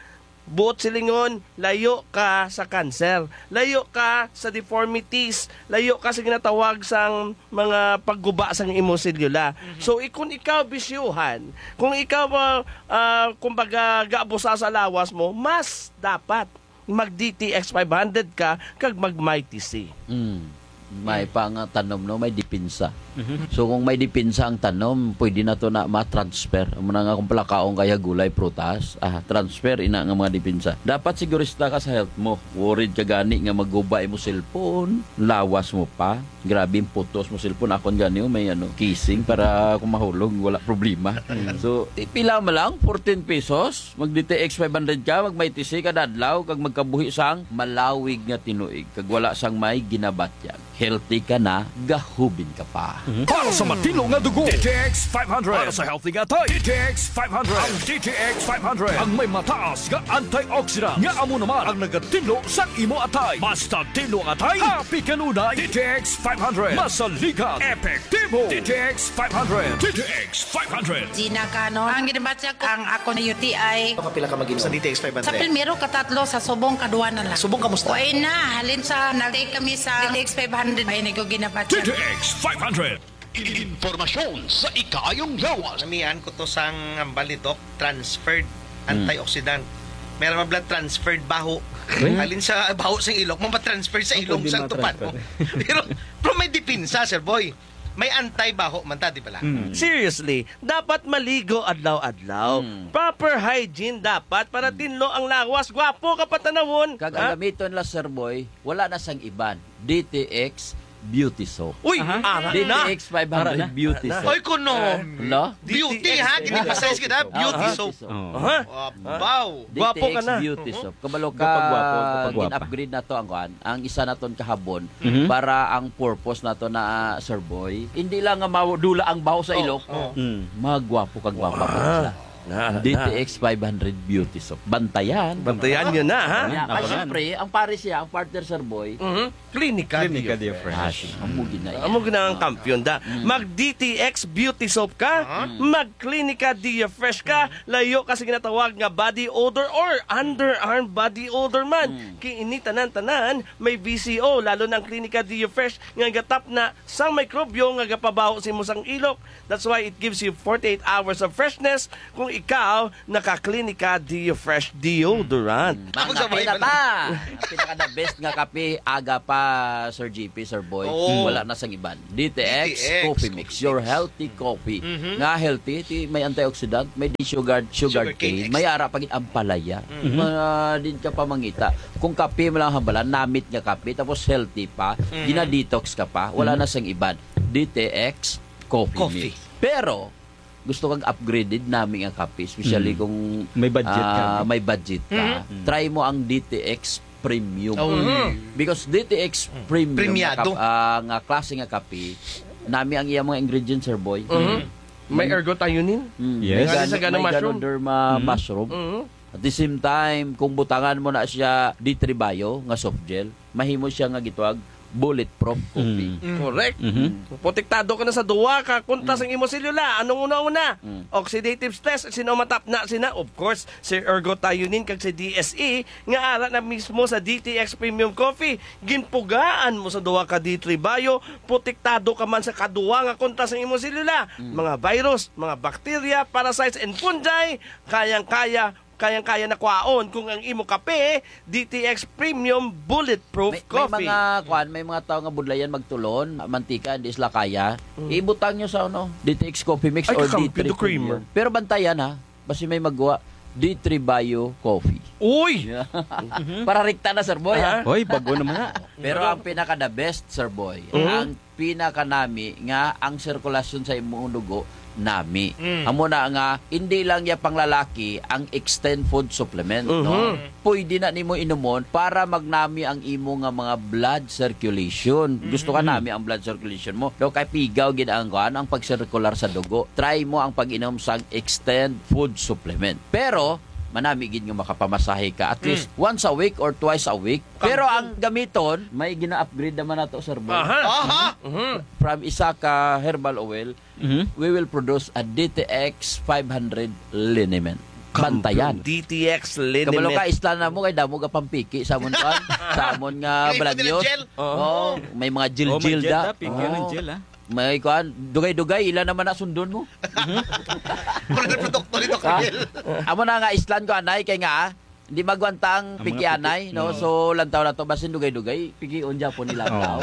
buot silingon, layo ka sa cancer, layo ka sa deformities, layo ka sa ginatawag sang mga pagguba sang imo selula. Mhm. So, i-, kung ikaw bisyuhan, kung ikaw, ah, ah, kumbaga, gaabusa sa lawas mo, mas dapat mag D T X five hundred ka kag mag Mighty C. Mm. May Mm. pa nga tanom, no? May depensa. Mhm. So, kung may depensa ang tanom, pwede na to na ma-transfer. Amo na nga kung palakaon kaya gulay, prutas, ah, transfer ina nga mga depensa. Dapat sigurista ka sa health mo. Worried ka gani nga maguba imo cellphone, lawas mo pa. Grabe yung putos mo cellphone. Akon gani, oh, may ano, casing para kung mahulog, wala problema. Mm. So, i-, pila man lang, fourteen pesos. Mag D T X five hundred ka, mag Mighty C kada adlaw, kag magkabuhi sang malawig nga tinuig, kag wala sang may ginabatyag. Healthy ka na, gahubin ka pa. Mhm. Para sa matinlo nga dugo, D T X five hundred. Para sa healthy nga atay, D T X five hundred. Ang D T X five hundred ang may mataas nga antioxidant, nga amo naman ang nagatinlo sa imo atay. Basta tinlo ang atay, happy kanunay. D T X five hundred. Masaligan, epektibo. D T X five hundred. D T X five hundred. Gina Canon. Ang ginabatyag ang ako na U T I. Kapila ka mag-inom sa D T X five hundred? Sa primero, katatlo, sa subong, kadwa na lang. Subong, kamusta? Way na. Halin sa nag-take kami sa D T X five hundred, ay, nagkuginabatyag. D T X five hundred. Impormasyon sa ikaayong lawas. Namian ko to sang hambal ni Doc, transferred Hmm. antioxidant. Meron mga blood transferred baho. Hmm. Halin sa baho sa ilok, mapatransfer sa Ako ilong din sa tupad mo. matransfer. Pero, pero may depensa, Sir Boy. May anti-baho man ta, di ba la? Mm. Seriously, dapat maligo adlaw-adlaw. Mm. Proper hygiene dapat para Mm. tinlo ang lawas. Gwapo ka patanawon. Kag Ha? ang gamiton la, Sir Boy, wala na sang iban. D T X, Beauty Soap. Uy, Aha. ara na. D T X five hundred Ara na. Beauty Ara na. Soap. Oy, kuno. Hala? Beauty, ha? D T X Gini-emphasize kita, Beauty Aha. Soap. Oh. Aha. Wow. Gwapo ka D T X na. Beauty Soap. Kabalo ka, Gapagwapo, gapagwapa. gin-upgrade na to ang kuan, ang isa naton kahabon Mhm. para ang purpose nato na, ah, Sir Boy. Hindi lang nga maw-, dula ang baho sa Oh, ilok. oh. Mm. Magwapo kag gwapa pa Wow. sila. Na, na. D T X five hundred Beauty Soap. Bantayan. Bantayan niyo na, ha? Yeah, Abangan. Ay, siyempre, ang pare siya, ang partner, Sir Boy. Mhm. Clinica Clinica Dio Fresh. Fresh. Ah, sige. Amo gina yan. Amo gina ang Ah. kampiyon da. Mm. Mag D T X Beauty Soap ka, Aha. mag Clinica Dio Fresh ka, Mm. layo ka sa ginatawag nga body odor or underarm body odor man. Mm. Kay ini tanan-tanan may V C O, lalo na ang Clinica Dio Fresh nga gatap na sang mikrobyo nga gapabaho sa imo sang ilok. That's why it gives you forty-eight hours of freshness kung ikaw naka-Clinica Dio Fresh Deodorant. Mm. Ako sa Ang kape na bahay ta. Ang pinaka-the best nga kape, aga pa, Sir G P, Sir Boy. Oo. Wala na sang iban. D T X D T X Coffee Mix, Coffee your Mix. healthy coffee. Mhm. Nga healthy, ti may antioxidant, may di sugar, sugar Sugar cane cane, extract. may ara pa gid ampalaya. Mhm. Ma-, din ka pa mangita. Kung kape mo lang hambalan, namit nga kape, tapos healthy pa, Mhm. gina-detox ka pa, wala Mhm. na sang iban. D T X Coffee Coffee. Mix. Pero, gusto kag upgraded nami nga kape, especially Mm. kung, May budget ka, ah, no? may budget ka, Mhm. Mm. try mo ang D T X Premium. Oh. Mhm. Because D T X Mm. Premium Premiado. nga kap-, ah, nga klase nga kape, nami ang iyang mga ingredients, Sir Boy. Mhm. Mm. May Mm. ergothioneine. Mm. Yes. May May gan-, sagana may mushroom. Ganoderma Mm. mushroom. Mhm. At the same time, kung butangan mo na siya D three Bio nga soft gel, mahimo siya nga gitawag bulletproof coffee. Mm. Mm. Correct. Mhm. Mm. Protektado ka na sa duwa ka kontra Mm. sang imo selula. Anong una-una? Mm. Oxidative stress, sino matap na sina? Of course, si ergothioneine kag si D S E nga ara na mismo sa D T X Premium Coffee. Ginpugaan mo sa duwa ka D three Bio, protektado ka man sa kaduwa nga kontra sang imo selula. Mm. Mga virus, mga bacteria, parasites, and fungi, kayang-kaya kayang-kaya na kwaon kung ang imo kape, D T X Premium Bulletproof May, may Coffee. mga, kwan, may mga tao nga budlayan magtulon, mantika, hindi sila kaya. Mm. Ibutang nyo sa, ano, D T X Coffee Mix Ay, or kakampi, D three the creamer. Premium. Pero bantayan, ha, basi may magwa, D three Bio Coffee. Uy! Yeah. Mhm. Para rikta na, Sir Boy, Aha. ha? Hoy, bago naman na. Pero Pero ang pinaka the best, Sir Boy, Mhm. ang pinakanami nga ang sirkulasyon sa imong dugo nami. Mm. Amo na nga, hindi lang ya panglalaki ang Extend Food Supplement, no? Mhm. Pwede na nimo inumon para magnami ang imo nga mga blood circulation. Gusto ka Mhm. nami ang blood circulation mo. Do kay pigaw gid ang kuan, ang pagsirkular sa dugo. Try mo ang pag-inom sang Extend Food Supplement. Pero manami gid nga makapamasahe ka at Mm. least once a week or twice a week. Pero Kampiyon. ang gamiton, may gina-upgrade naman nato, Sir Boy. Aha. Aha. Mhm. From isa ka herbal oil, Mhm. we will produce a D T X five hundred liniment. Kampiyon. Bantayan. D T X liniment. Kabalo ka, islan na mo kay damo ka pampiki sa amon kuan, sa amon nga Kay pwede na balanyos. gel. Oo. Oo, may mga Oh, may gel-gel gel da. da, piki ng Oo. gel, ah. May kuan, dugay-dugay, ila naman na sundon mo. Pero produkto nito, Ha? Kagil. Amo na nga, islan ko, anay, kay nga, ah, di magwanta ang Ang mga pikianay, piki. no? Oo. So, lantaw na to, basin dugay-dugay, pikion dyan po nila ang Oo. tao.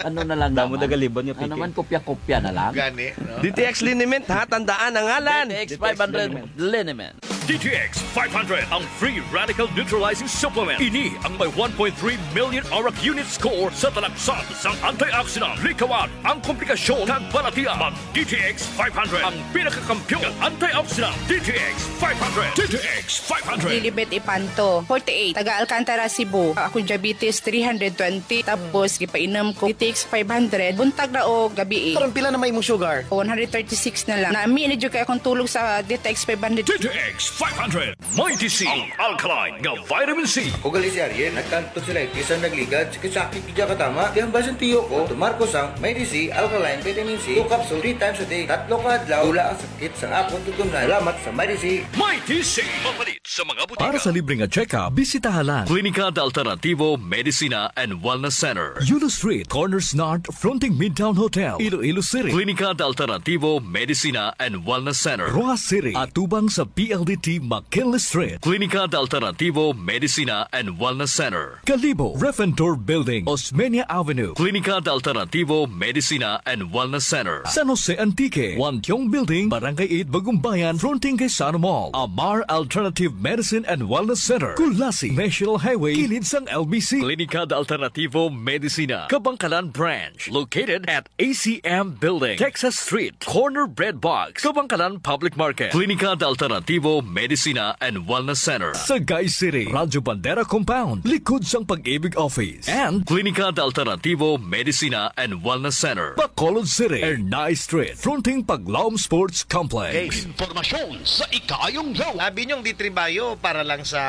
Ano na lang Damo naman? nagalibon nga Ano piki. naman, kopya-kopya na lang? Gani, no? D T X liniment, ha? Tandaan ang ngalan. D T X five hundred liniment. D T X five hundred, ang free radical neutralizing supplement. Ini ang may one point three million arak unit score sa talaksan sang antioxidant. Likawan ang komplikasyon kag balatian. Mag D T X five hundred, ang pinakakampiyon nga antioxidant. D T X five hundred. D T X five hundred. Lilibet Ipanto, forty-eight, taga Alcantara, Cebu. Ako diabetes, three hundred twenty. Tapos, gipainom ko D T X five hundred, buntag na o gabi eh. Karon, pila na may imong sugar? One hundred thirty-six na lang. Nami na jud kay akong tulog sa D T X five hundred. D T X five hundred. Mighty C, ang alkaline nga vitamin C. Ako gali si Ariel, nagkanto sila itis ang nagligad, sakit-sakit gid katama. Kaya ang basin tiyo ko, tumar ko sang Mighty C, alkaline vitamin C, two capsule, three times a day. Tatlo ka adlaw, wala ang sakit sa akong tutunlan. Salamat sa Mighty C. Mighty C, mapalit sa mga butika. Para sa libre nga check-up, bisitaha lang Klinika de Alternativo Medicina and Wellness Center, Yulo Street, Corners North, fronting Midtown Hotel, Iloilo City. Klinika de Alternativo Medicina and Wellness Center, Roxas City, atubang sa P L D T T McKinley Street. Klinika de Alternativo Medicina and Wellness Center. Kalibo, Refentor Building, Osmeña Avenue. Klinika de Alternativo Medicina and Wellness Center. San Jose Antique, Wantiong Building, Barangay eight, Bagumbayan, fronting kay Sano Mall. Amar Alternative Medicine and Wellness Center. Culasi, National Highway, kilid sang L B C. Klinika de Alternativo Medicina, Kabangkalan Branch, located at A C M Building, Texas Street, corner Bread Box, Kabangkalan Public Market. Klinika de Alternativo Medicina and Wellness Center, Sagay City, Radyo Bandera Compound, likod sang Pag-ibig Office. And Klinika de Alternativo Medicina and Wellness Center, Bacolod City, Ernai Street, fronting Paglaom Sports Complex. Informasyon sa ikaayong law. Abi niyong D three Bio para lang sa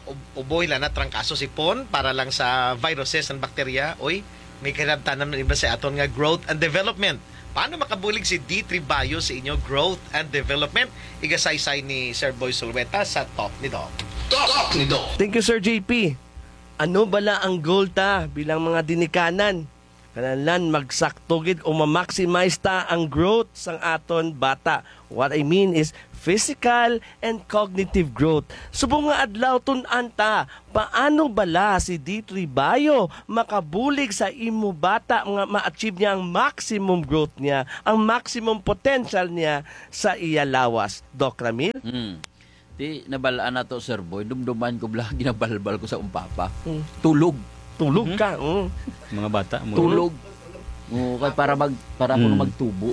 ub-, uboy, lana, trangkaso, sipon, para lang sa viruses and bakterya. Oy, may kinabtanan man iba sa aton nga growth and development. Paano makabulig si D three Bio sa inyo growth and development? Igasaysay ni Sir Boy Sulweta sa Talk ni Doc. Talk ni Doc. Thank you, Sir J P. Ano bala ang goal ta bilang mga dinikanan? Kinahanglan magsakto gid o ma-maximize ta ang growth sang aton bata. What I mean is physical and cognitive growth. Subong nga adlaw, tun-an ta, paano bala si D three Bio makabulig sa imo bata nga ma-achieve niya ang maximum growth niya, ang maximum potential niya sa iya lawas? Doc Ramil? Hmm. Ti, nabal-an na to, Sir Boy. Dumduman ko bala, ginabalbal ko sa akon papa. Mm. Tulog. Tulog Mhm. ka, mm. Mga bata mo. Tulog. Oo, kay para mag-, para kuno Mm. magtubo.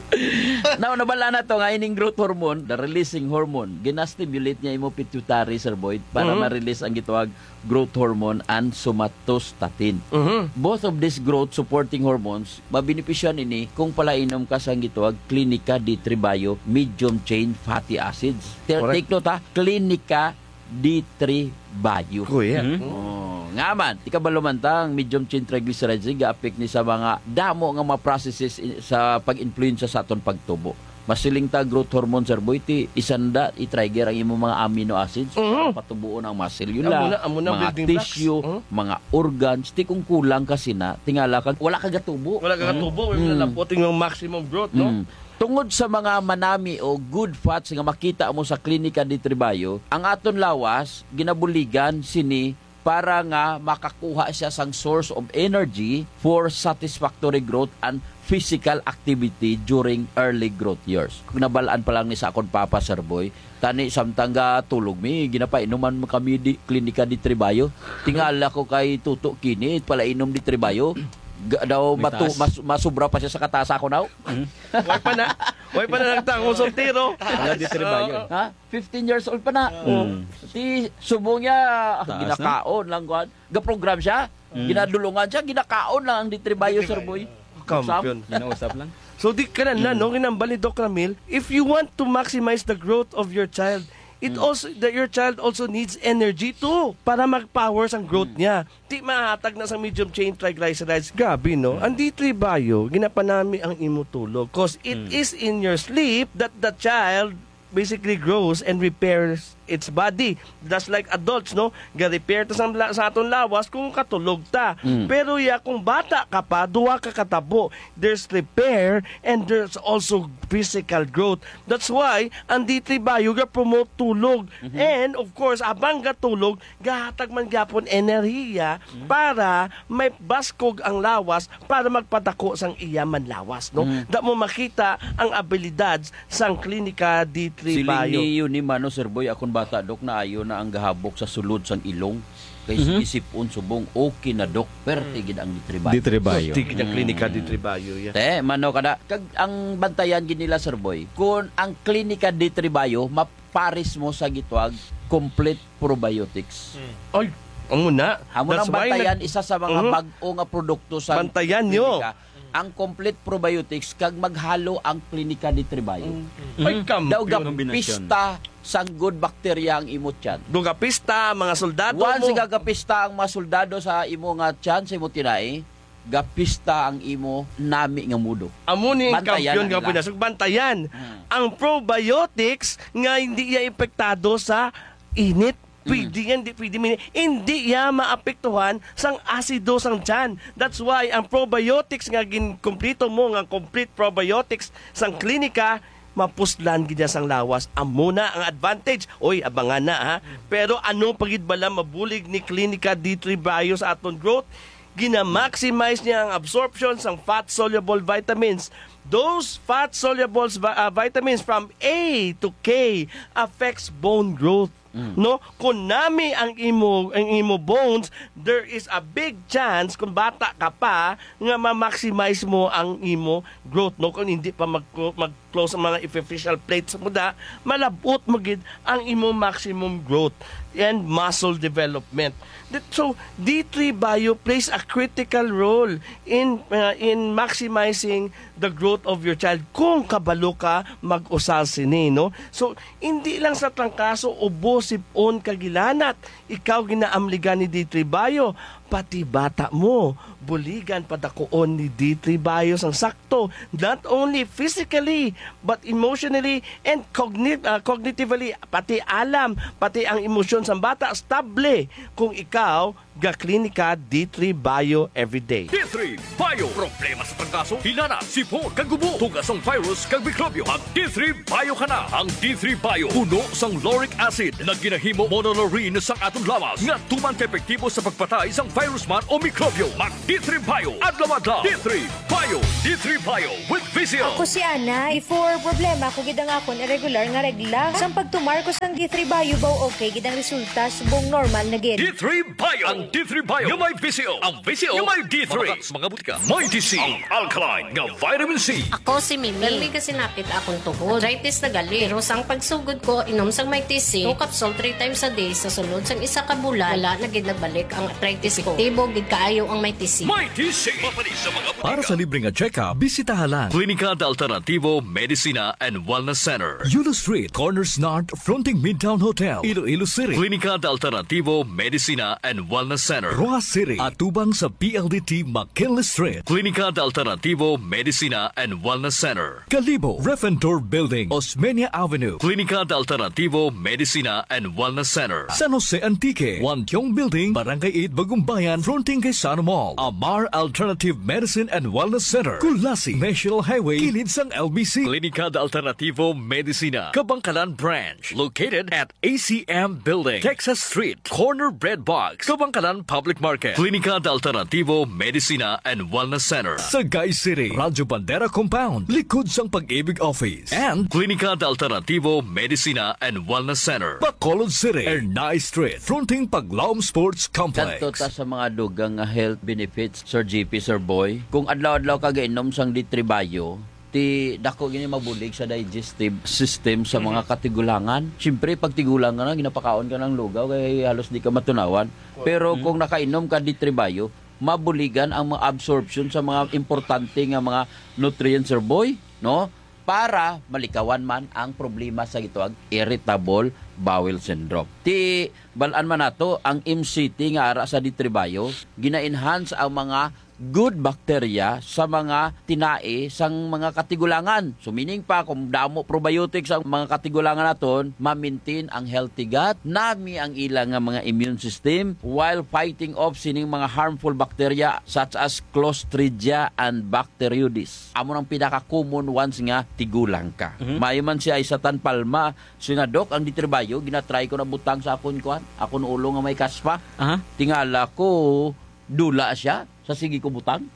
Now, nabal-an na to nga ining growth hormone, the releasing hormone, gina-stimulate niya imo pituitary, Sir Boy, para Mhm. ma-release ang gitawag growth hormone and somatostatin. Mhm. Both of these growth supporting hormones, mabenepisyohan ini kung palainom ka sang gitawag Klinika D three Bio medium chain fatty acids. Ter-, Correct. take note, ha, Klinika D three Bio. Kuya. Mhm. Oh, nga man, ikabalo man ta, ang medium chain triglycerides, ga-affect ni sa mga damo nga mga processes i-, sa pag-influensya sa aton pagtubo. Masiling ta growth hormone, Sir Boy, ti isanda i-trigger ang imong mga amino acids Mhm. para patubuon ang mga selula, Amo na, amo na mga building blocks. tissue, Mhm. mga organs. Ti kung kulang ka sina, tingala kag wala ka gatubo. Wala ka gatubo, wala Mm. nalapot yung maximum growth, no? Mm. Tungod sa mga manami o good fats nga makita mo sa Klinika D three Bio, ang aton lawas ginabuligan sini para nga makakuha siya sang source of energy for satisfactory growth and physical activity during early growth years. Nabal-an pa lang ni sa akon papa, Sir Boy, tani samtang ga tulog mi, ginapainuman mo kami di Klinika D three Bio. Tingala ko kay Tuto kini, palainom D three Bio. Ga-, daw May matu-, taas. mas-, masubra pa siya sa katasa ko now. Hmm. Way pa na. Way pa na nagtang ang soltero. Wala D three Bio. Oo. Ha? Fifteen years old pa na. Mm. Ti, subong niya, ah, Taas na. ginakaon lang, kuwan. Ga-program siya, Mm. ginadulungan siya, ginakaon lang ang D three Bio, Sir Boy. Kampiyon. Ginausap lang. So, di ka na, na, Mm. no, ginambal ni Doc Ramil, if you want to maximize the growth of your child, it Mm. also, that your child also needs energy too para mag-power sang growth Mm. niya. Di mahatag na sa medium chain triglycerides. Grabe, no? Mm. Ang D three Bio, ginapanami ang imo tulog 'cause it Mm. is in your sleep that the child basically grows and repairs its body. Just like adults, no? Ga-repair ta sa, sa aton lawas kung katulog ta. Mm. Pero ya, kung bata ka pa, duha ka katabo. There's repair and there's also physical growth. That's why ang D three Bio ga-promote tulog. Mhm. And of course, abang gatulog, gahatag man gyapon enerhiya Mm. para may baskog ang lawas para magpadako sang iya man lawas, no? Mm. Da mo makita ang abilidad sang Klinika D three Siling Bio. Ni Yuni Mano, Sir Boy, akon bata, Dok, naayo na ang gahabok sa sulod sang ilong. Kay Mhm. sige sipon subong, okay na, Dok. Perte Mm. gid ang D three Bio. D three Bio. Perte gid ang Klinika Mm. D three Bio, yeah. Te, mano kada, kag ang bantayan gid nila, Sir Boy, kung ang Klinika D three Bio, mapares mo sa gitawag complete probiotics. Mm. Ay, amo na. Amo That's nang why bantayan, nag-, isa sa mga Mhm. bag-o nga produkto sa Bantayan nyo. Klinika, ang complete probiotics, kag maghalo ang Klinika D three Bio. Mm. Ay, Mhm. Daw kampiyon. Kombinasyon. Gapista sang good bacteria ang imo tiyan. Daw gapista, mga soldado Once mo. Gagapista ang mga soldado sa imo nga tiyan, sa imo tinai, gapista ang imo nami nga mudo. Amo ni ang Bantayan kampiyon na nga nila. Pinas-, bantayan. Hmm. Ang probiotics nga hindi iya epektado sa init. Pwede Mm. yan, di pwede mini-, hindi iya maapektuhan sang asido sang tiyan. That's why ang probiotics nga ginkumplito mo, nga complete probiotics sang klinika, mapuslan gid niya sang lawas. Amo na ang advantage. Oy, abangan na, ha. Pero ano pa gid bala mabulig ni Clinica D three Bio sa aton growth? Gina-maximize niya ang absorption sang fat-soluble vitamins. Those fat-soluble vi- ah, vitamins from A to K affects bone growth. Mm. No, kung nami ang imo, ang imo bones, there is a big chance kung bata ka pa nga ma-maximize mo ang imo growth, no, kung hindi pa mag mag close ang mga epiphyseal plates mo da, malabot mo gid ang imo maximum growth and muscle development. That- So, D three Bio plays a critical role in uh, in maximizing the growth of your child kung kabalo ka mag-usa sini, no? So, hindi lang sa trangkaso, ubo, sip-on, kagilanat, ikaw ginaamligan ni D three Bio, pati bata mo, buligan padakuon ni D three Bio sang sakto, not only physically, but emotionally and cogni- ah, cognitively, pati alam, pati ang emosyon sang bata, stable kung ikaw ga-Klinika D three Bio everyday. D three Bio. Problema sa trangkaso, hilanat, sipon, kag ubo, tuga sang virus kag mikrobyo. Mag D three Bio ka na. Ang D three Bio puno sang lauric acid na ginahimo monolaurin sang aton lawas nga tuman ka epektibo sa pagpatay sang virus man o mikrobyo. Mag D three Bio adlaw-adlaw. D three Bio. D three Bio with Vision. Ako si Ana. Before, problema ko gid ang akon irregular nga regla. Sang pagtumar ko sang D three Bio, baw okay gid ang resulta, subong normal na gid. D three Bio. Ang D three Bio nga may Vision. Ang Vision nga may D three. Sa mga butika, may D C. Ang alkaline nga vitamin C. Ako si Mimi. Permi ka sinapit akong tuhod. Arthritis na gali. Pero sang pagsugod ko, inom sang may T C, two capsule three times a day sa sulod sang isa ka bulan, wala na gid nagbalik ang arthritis ko. Epektibo gid kaayo ang may T C. May T C. Mapanis sa mga butika. Para sa libre nga check-up, bisitaha lang Clínica de Alternativo Medicina and Wellness Center. Yulo Street, Corners North, fronting Midtown Hotel, Iloilo City. Clínica de Alternativo Medicina and Wellness Center. Roxas City, atubang sa P L D T McKinley Street. Clínica de Alternativo Medicina and Wellness Center. Kalibo, Refentor Building, Osmeña Avenue. Clínica de Alternativo Medicina and Wellness Center. San Jose Antique, Wantiong Building, Barangay eight, Bagumbayan, fronting kay Sano Mall. Amar Alternative Medicine and Wellness Center, Culasi, National Highway, kilid sang L B C. Clínica de Alternativo Medicina, Kabankalan Branch, located at A C M Building, Texas Street, corner Bread Box, Kabankalan Public Market. Clínica de Alternativo Medicina and Wellness Center. Sagay City, Radyo Bandera Compound, likod sang Pag-ibig Office. And Clínica de Alternativo Medicina and Wellness Center, Bacolod City, Ernai Street, fronting Paglaom Sports Complex. Kadto ta sa mga dugang nga health benefits, Sir G P, Sir Boy. Kung adlaw-adlaw ka gainom sang D three Bio, ti dako gini mabulig sa digestive system sa mga katigulangan. Siyempre, pag tigulang ka na, ginapakaon ka ng lugaw, kay halos di ka matunawan. Pero kung nakainom ka D three Bio, mabuligan ang mga absorption sa mga importante nga mga nutrients, Sir Boy, no? Para malikawan man ang problema sa gitawag irritable bowel syndrome. Ti bal-an man nato ang M C T nga ara sa D three Bio, gina-enhance ang mga good bacteria sa mga tinai sang mga katigulangan. So, meaning pa, kung damo probiotics ang mga katigulangan naton, ma-maintain ang healthy gut, nami ang ila nga mga immune system while fighting off sining mga harmful bacteria such as Clostridia and Bacteroides. Amo nang pinaka-common ones nga tigulang ka. Mhm. Maayo man si Aisatan Palma, siya nga, "Dok, ang D three Bio, ginatry ko na butang sa akon, kuan, akon ulo nga may kaspa." Aha. Tingala ko, dula siya sa sige ko butang.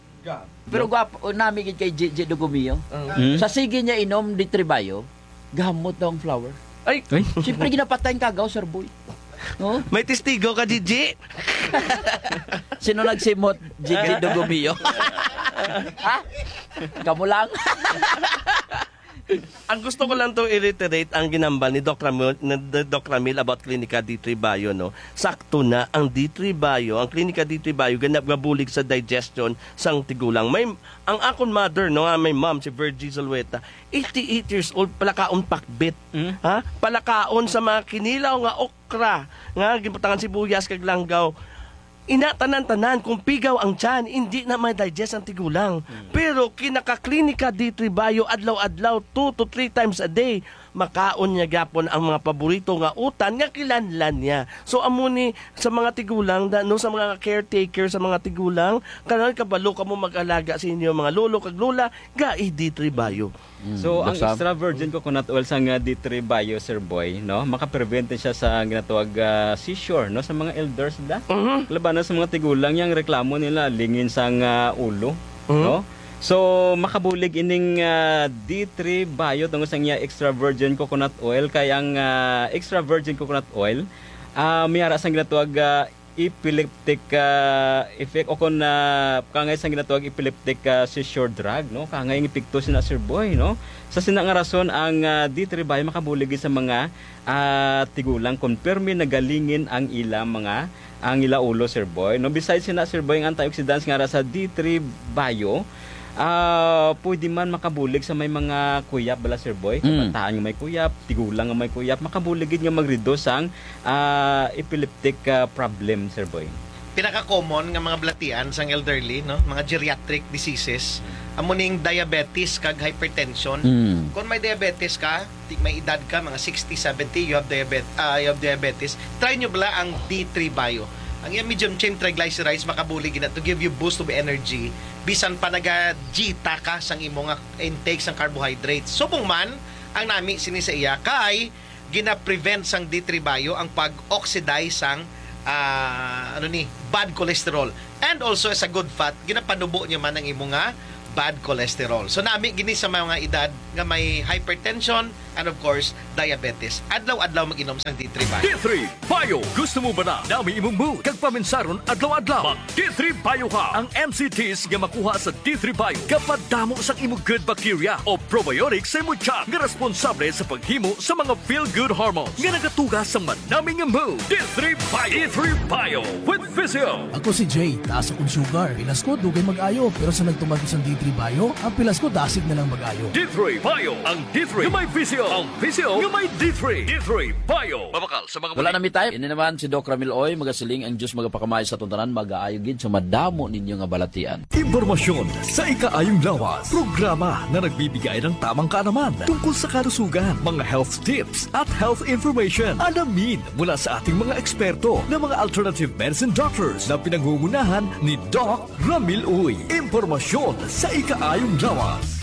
Pero gwapo, o, nami gid kay J J Dugumio. Mm. Sa sige niya inom D three Bio, gamot daw ang flower. Ay! Ay. Siyempre, ginapatay ang kagaw, Sir Boy. No? May testigo ka, J J? Sino nagsimot? J J Dugumio. Ha? Kamo lang. Ang gusto ko lang to i-reiterate ang ginambal ni Doc Ramil, ni Doc Ramil about Klinika D three Bio, no? Sakto na ang D three Bio, ang Klinika D three Bio, ganap nga bulig sa digestion sang tigulang. May, ang akon mother, no, ah, my mom, si Virgie Zulueta, eighty-eight years old, palakaon pakbit. Mm. Ha? Palakaon sa mga kinilaw nga okra, nga ginbutangan sibuyas kag langgaw. Ina, tanan-tanan, kung pigaw ang tiyan, hindi na may digest ang tigulang. Mm. Pero kinakaklinika D three Bio, adlaw-adlaw, two to three times a day, makaon niya gyapon ang mga paborito nga utan nga kinahanglan niya. So, amo ni sa mga tigulang, da-, no, sa mga caretaker sa mga tigulang, kanang kabalo kamo mag-alaga sa inyo mga lolo kag lola, gai D three Bio. Mm, So, ang Doc Sam? extra virgin coconut oil sa nga D three Bio, Sir Boy, no, makaprevent siya sa ginatawag, ah, seizure, no, sa mga elders da. Mhm. Labanan sa mga tigulang, yang reklamo nila lingin sang, ah, ulo, Mhm. no? So, makabulig ining, ah, D three Bio tungod sa iya extra virgin coconut oil, kay ang, ah, extra virgin coconut oil, ah, may ara sang ginatawag, ah, epileptic, ah, effect o kon, ah, kangay sang ginatawag epileptic, ah, seizure drug, no? Kangay ang epekto sina, Sir Boy, no? Sa sina nga rason ang, ah, D three Bio makabulig sa mga, ah, tigulang kon pirmi nagalingin ang ila mga, ang ila ulo, Sir Boy, no? Besides sina, Sir Boy, ang antioxidants nga ara sa D three Bio, ah, pwede man makabulig sa may mga kuyap bala, Sir Boy. Mm. Kabataan nga may kuyap, tigulang nga may kuyap, makabulig gid nga mag-reduce ang ah, epileptic, ah, problem, Sir Boy? Pinaka-common nga mga balatian sang elderly, no? Mga geriatric diseases, amo ning diabetes kag hypertension. Mm. Kung may diabetes ka, di, may edad ka, mga sixty, seventy, you have diabet-, ah, you have diabetes, try nyo bala ang D three Bio. Ang iyang medium chain triglycerides makabulig gina to give you boost of energy bisan pa naga-dieta ka sang imo nga intake sang carbohydrates. Subong man ang nami sini sa iya kay gina-prevent sang D three Bio ang pag-oxidize sang, ah, ano ni, bad cholesterol. And also, as a good fat, ginapanubo niya man ang imo nga bad cholesterol. So, nami gini sa mga edad nga may hypertension and, of course, diabetes. Adlaw-adlaw mag-inom sang D three Bio. D three Bio. Gusto mo ba na nami imong mood kag paminsaron adlaw-adlaw? Mag D three Bio ka. Ang M C Ts nga makuha sa D three Bio gapadamo sang imo good bacteria o probiotics sa imo tiyan nga responsable sa paghimo sa mga feel-good hormones nga nagatuga sa manami nga mood. D three Bio. D three Bio with Physio. Ako si Jay, taas akong sugar. Pilas ko, dugay mag-ayo, pero sa nagtuman ko sang D three Bio, ang pilas ko dasig na lang mag-ayo. D three Bio, ang D three nga may Physio, ang Physio nga may D three. D three Bio. Mabakal sa mga Wala mali- na mi time. Ini naman si Doc Ramil Oy, magasiling, ang Diyos magapakamay sa atong tanan, mag-aayo gid sa madamo ninyo nga balatian. Impormasyon sa ikaayong lawas. Programa na nagbibigay ng tamang kaalaman tungkol sa kalusugan, mga health tips at health information. Alamin mula sa ating mga eksperto na mga alternative medicine doctors na pinangungunahan ni Doc Ramil Uy. Impormasyon sa ikaayong lawas.